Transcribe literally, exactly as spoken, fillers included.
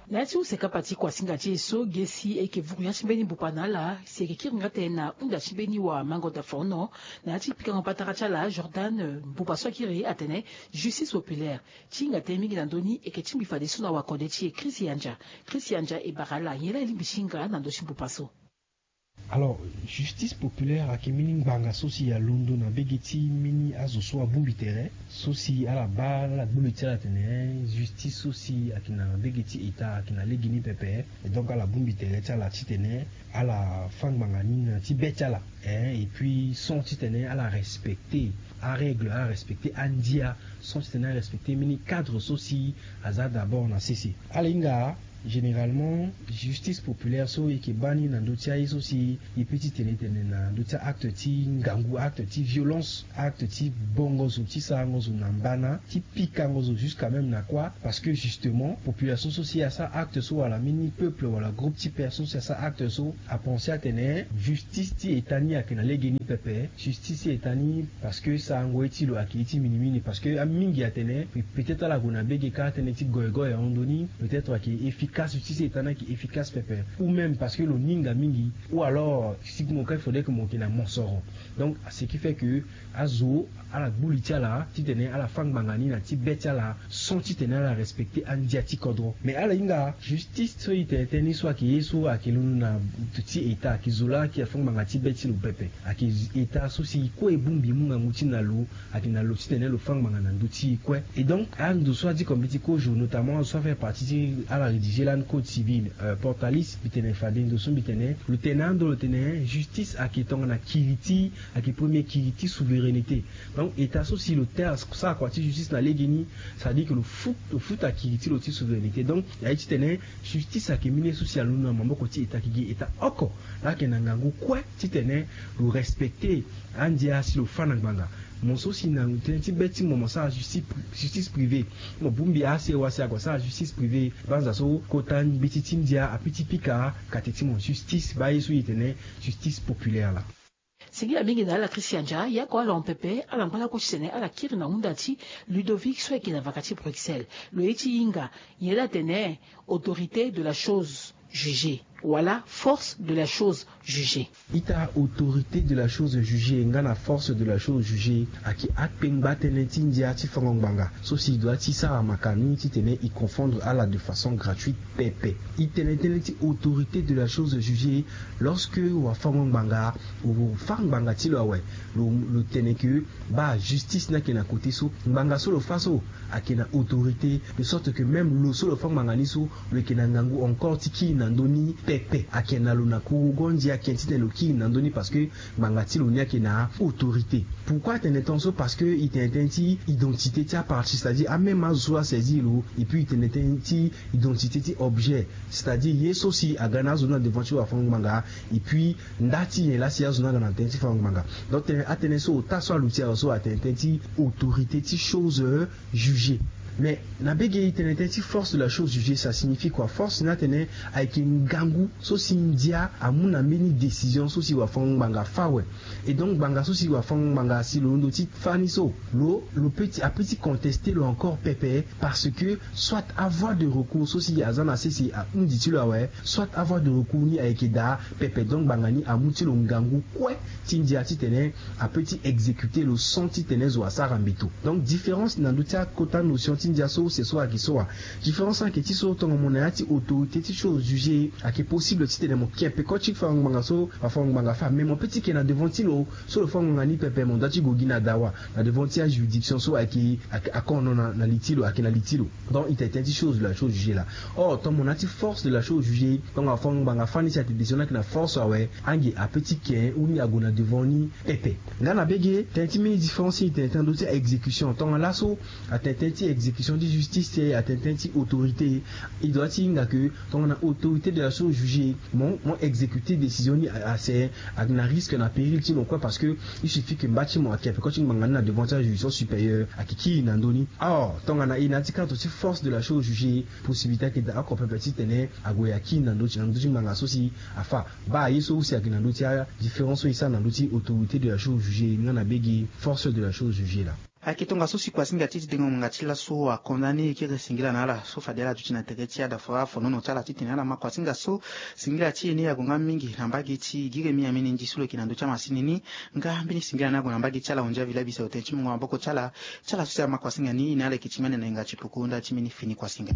Na ya ti use kapa ti kuasinga ti e so ge si e yeke vuru ya ti mbeni mbupa na ala si e yeke kiri nga tënë na hunda ti mbeni wa mango dafono. Na ya ti pikango patara ti ala Jordan, mbupa so akiri atene justice populaire ti hinga tënë mingi na ndö ni e yeke tingbi fadeso na wakode ti e Chris Yanja. Chris Yanja e bara ala nyen laa e lingbi ti hinga na ndö ti mbupa so. Alors, justice populaire ayeke mbeni ngbanga so si alondo na mbege ti mbeni azo so abongbi tere so si ala baa ala gbu li ti ala atene justice so si ayeke na mbege ti État ayeke na legeni pepe. Et donc ala bongbi tere ti ala titene ala fâ ngbanga ni na ti be ti ala, hein, et puis sans titene ala respecter arègle, ala respecter andia, sans titene ala respecter mbeni cadre so si aza d'abord na sese. Ala hinga généralement justice populaire so e yeke baa ni na ndö ti aye so si e peut ti tene tene na ndö ti acte ti ngangu, acte ti violence, acte ti bongo zo, ti sarango zo na mbana, ti pikango zo jusqu'à même na kuâ. Parce que justement population so si asara acte so wala mbeni peuple wala groupe ti personne so si asara acte so apenser atene justice ti État ni ayeke na legeni pepe. Justice ti État ni, parce que sarango ye ti lo ayeke ye ti minimini, parce que amingi atene pe-, peut-être ala gue na mbege kâ tënë ti goyo goyo ahon ndö ni, peut-être ayeke efficace, justice ti État ni ayeke efficace pepe, ou même parce que lo ni hinga mingi, ou alors si mo ka il faudrait que mo yeke na mosoro. Donc ce qui fait que azo ala gbu li ti ala titene ala fâ ngbanga ni na ti be ti ala sans titene ala respecter andia ti kodro. Mais ala hinga justice so e tene tënë ni so ayeke ye so ayeke londo na ti État, ayeke zo laa ayeke fâ ngbanga ti be ti lo pepe. Ayeke État so si kue e bongbi e mu ngangu ti e na lo, ayeke na lo titene lo fâ ngbanga na ndö ti e kue. Et donc ando so adi kombeni ti kozo, notamment azo so afaire partie ti ala rédiger lani code civil, euh, Portalis, mbi tene fade ndo so mbi tene, lo tene ando lo tene justice ayeke tongana kiri ti, ayeke premier kiri ti souveraineté. Donc État so si lo te asara kua ti justice na legeni, c'est-à-dire que lo futa, lo futa kiri ti lo ti souveraineté. Donc na ye titene justice ayeke mbeni ye so si alondo na maboko ti État, ayeke gi État oko laa ayeke na ngangu kue titene lo respecter andia si lo fâ na ngbanga. Mo so si na tënë ti be ti mo mo sara justice, justice privée. Mo bongbi ase wa si ague asara justice privée. Banza so kota mbeti ti ndia ape ti pika kate ti mo justice, baa ye so e tene justice populaire laa. Singila mingi na ala Christian Dia, ya ko ala hon pepe, ala ngba lakue titene ala kiri na hunda ti Ludovic so ayeke na vaka ti Bruxelles. Lo ye ti hinga nyen laa atene autorité de la chose jugée wala force de la chose jugée. Ita, autorité de la chose jugée nga na force de la chose jugée ayeke akpengba tënë ti ndia ti fango ngbanga so si e doit ti sara makani titene e confondre ala de façon gratuite pepe. E tene tënë ti autorité de la chose jugée lorsque wafango ngbanga, lo fâ ngbanga ti lo awe, lo, lo tene ke baa justice ni ayeke na côté so, ngbanga so lo fâ so ayeke na autorité, de sorte que même lo so lo fâ ngbanga ni so, lo yeke na ngangu encore ti kiri na ndö ni pepe. Ayeke na lo na kurugu andia ake titene lo kiri na ndö ni, parce que ngbanga ti lo ni ayeke na autorité. Pourquoi atene tongaso? Parce que e tene tënë ti identité ti apartie, c'est-à-dire amême azo so asaisir lo, et puis e tene tënë ti identité ti objet, c'est-à-dire ye so si aga na azo ni na devant ti wafango ngbanga, et puis nda ti nyen laa si azo ni aga na tënë ti fango ngbanga. Donc tënë, atënë so ota so aluti awe so atene tënë ti autorité ti chose, euh, jugée. Mais na mbege e tene tënë ti force de la chose jugée, ça signifie quoi? Force ni atene ayeke ngangu so si ndia amu na mbeni décision so si wafango ngbanga fâ awe. Et donc ngbanga so si wafango ngbanga si lo londo ti fâ ni so, lo, lo peut ti, apeut ti contester lo encore pepe, parce que soit avoie de recours so si aza na sese ahundi ti lo awe, soit avoie de recours ni ayeke daa pepe. Donc ngbanga ni amu ti lo ngangu kue ti ndia titene apeut ti exécuter lo sans titene zo asara mbeto. Donc différence na ndö ti akota notion ti ndia so use so ayeke so wa. Différence ayeke ti so, tonga mo na ya ti autorité ti chose jugée, ayeke possible titene mo ke peko ti fango ngbanga so wafango ngbanga fâ, mais mo peut ti ke na devant ti lo so lo fâ ngbanga ni pepe, mo doit ti gue gi na dawa, na devant ti ajuridiction so ayeke, ayeke akono na, na li ti lo, ayeke na li ti lo. Donc e tene tënë ti chose de la chose jugée laa. Or tonga mo na ya ti force de la chose jugée, tonga wafango ngbanga fâ ni si atene décision ni ayeke na force awe, ange apeut ti ke ou ni ague na devant ni pepe. Nga na mbege tënë ti mbeni différence ti e tene tënë na ndö ti exécution. Tonga laso atene tënë ti exécution ti justice, atene tënë ti autorité. E doit ti hinga ke tongana autorité de la chose jugée, mo, mo exécuter décision ni a, ase, ayeke na risque na péril ti mo kue, parce que il suffit que mba ti mo ayeke peko ti ngbanga ni na devant ti ajuridiction supérieure, ayeke kiri na ndö ni. Or tongana e na ya ti cadre ti force de la chose jugée, possibilité ayeke daa oko pepe titene ague akiri na ndö ti, na ndö ti ngbanga so si afâ. Baa ye so use ayeke na ndö ti adifférence so e sara na ndö ti autorité de la chose jugée nga na mbege force de la chose jugée laa. Ayeke tongaso si kuasinga ti e ti dengo ngbanga ti laso akonda ni e kiri singila na ala so fade ala duti na tere ti ada fara afonono ti ala titene ala ma kuasinga so singila ti e ni ague nga mingi na mbage ti giri mi ameni ndi so lo yeke na ndö ti amasini ni. Nga mbeni singila ni ague na mbage ti ala hunzi avila biso otene ti mungo maboko ti ala ti ala so si ama kuasinga ni na ala yeke ti mene na yenga ti puku nda ti mbeni fini kuasinga.